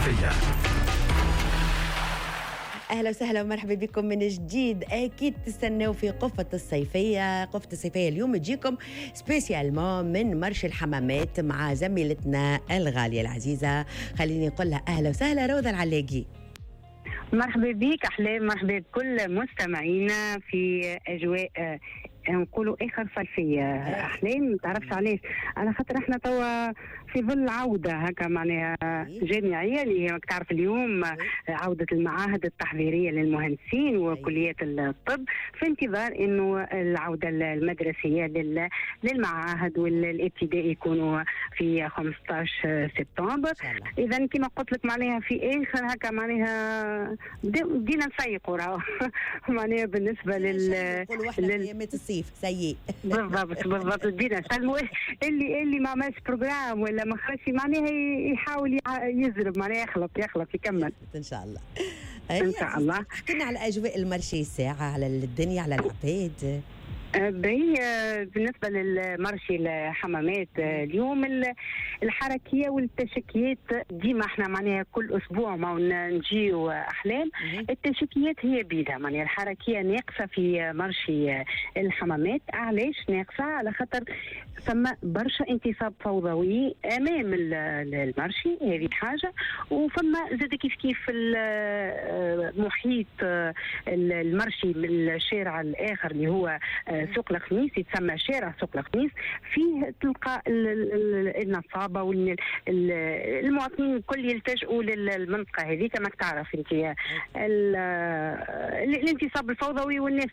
الصيفية. اهلا وسهلا ومرحبا بكم من جديد. اكيد تستناو في قفة الصيفيه. قفة الصيفية اليوم تجيكم spécialement من marché الحمامات مع زميلتنا الغالية العزيزه، خليني نقول لها اهلا وسهلا روضة العلاقي. مرحبا بك احلام، مرحبا بكل مستمعينا في اجواء نقولوا اخر صيفية احلام. ما تعرفش علاش؟ على خاطر احنا توا في ظل عوده هكا معناها جامعيه، اللي هي تعرف اليوم عوده المعاهد التحضيريه للمهندسين وكليات الطب، في انتظار انه العودة المدرسية للمعاهد والابتدائي يكونوا في 15 سبتمبر. اذا كما قلت لك معناها في اخر هكا معناها بدينا نسيقوا راهو معناها بالنسبة لل الصيف سيء. بالضبط بالضبط، بدينا نسلموا اللي ما عملش programme ولا ما خرجش معناها يحاول يزرب، معناها يخلط يخلط يكمل. ان شاء الله. ان شاء الله. حكينا على اجواء ال marché الساعه، على الدنيا، على العباد. باهي، بالنسبة لل marché الحمامات اليوم الحركية والتشكيات ديما احنا معناها كل اسبوع ما نجيو احلام، التشكيات هي بيدها، معناها الحركية ناقصة في marché الحمامات. علاش ناقصة؟ على خاطر ثم برشا انتصاب فوضوي امام ال marché، هذه حاجة، وفما زاد كيف كيف محيط ال marché من الشارع الاخر اللي هو سوق الخميس، يتسمى شارع سوق الخميس، فيه تلقى النصابه والمواطنين الكل يلتجئوا للمنطقة هذيك. ماك تعرف انت الانتصاب الفوضوي والناس